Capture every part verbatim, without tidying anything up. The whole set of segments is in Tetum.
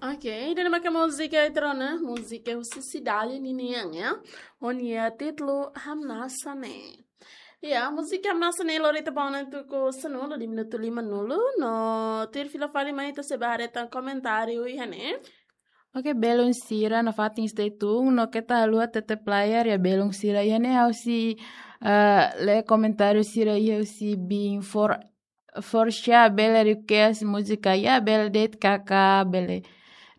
Ok, ida-ne'e maka múzika ita rona, múzika husi Cidade ninian, ya. Ho nia títulu Hamnasa Ne'e. Ya, múzika Hamnasa Ne'e lori ita ba ona tuku sanulu, di minutu limanulu, no tuir fila fali mai ita sei bá haree tan komentáriu iha ne'e. Ok, belun sira nafatin stay tune, no keta haluha tete player ya belun sira iha ne'e ha'u sei, eh, lee komentáriu sira iha husi bin for for sure bele request múzika ya, bele de'it karik bele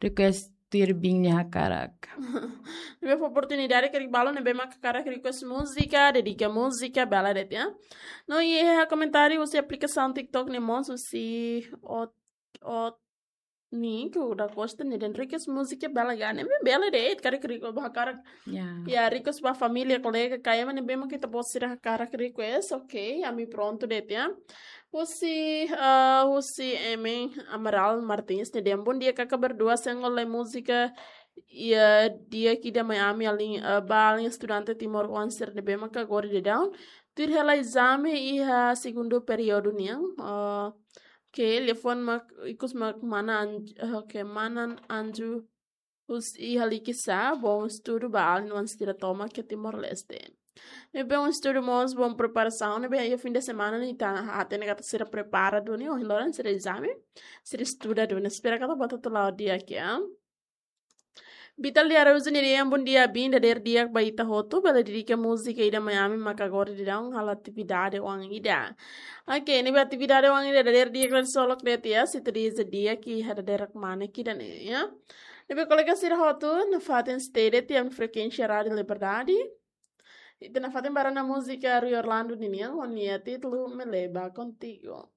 request tuir bin nia hakarak. Ne'ebé fó oportunidade karik balun ne'ebé mak hakarak request múzika, dedika múzika, bele de'it ya. No iha komentáriu husi aplikasaun TikTok ne'e mós husi ot ot ni ku da Costa ne'e dehan request múzika bele gane, ne'ebé bele de'it karik request ba hakarak. Ya. Ya, request ba família, kolega, kayak mana bem kita bos sira hakarak request, ok, ami prontu de'it ya. Husi, eh, husi Emen Amaral Martins ne'e dehan bom dia kakak berdua, sengol lai múzika, ya, di'ak ida mai ami alin, eh, ba alin estudante timoroan sira ne'ebé maka agora daudaun tuir hela ezame iha segundu períodu nian, eh, ke liafuan mak ikus mak mana Anju, eh, ke mana Anju husi iha Likisá, bom estudu ba alin oan sira tomak iha Timor-Leste. Ne'ebé bom estudu mós, bom preparasaun, ne'ebé iha fim de semana ne'e ita hatene katak sira prepara duni, ohin loron sira ezame, sira estuda duni, espera katak bá hotu la'o di'ak ya. Vital de Araújo ne'e dehan bom dia, bin dadeer di'ak ba ita hotu, bele dedika múzika ida mai ami maka agora daudaun halo atividade oan ida. Ok, ne'ebé atividade oan ida dadeer di'ak kraksolok de'it ya, se ita dehan di'ak iha dadeer mak ne'e ida-ne'e ya. Ne'ebé kolega sira hotu nafatin stay de'it iha frekuénsia Rádio Liberdade. Ita nafatin bá rona múzika Rui Orlando ninian, ho nia títulu Me Leva Contigo.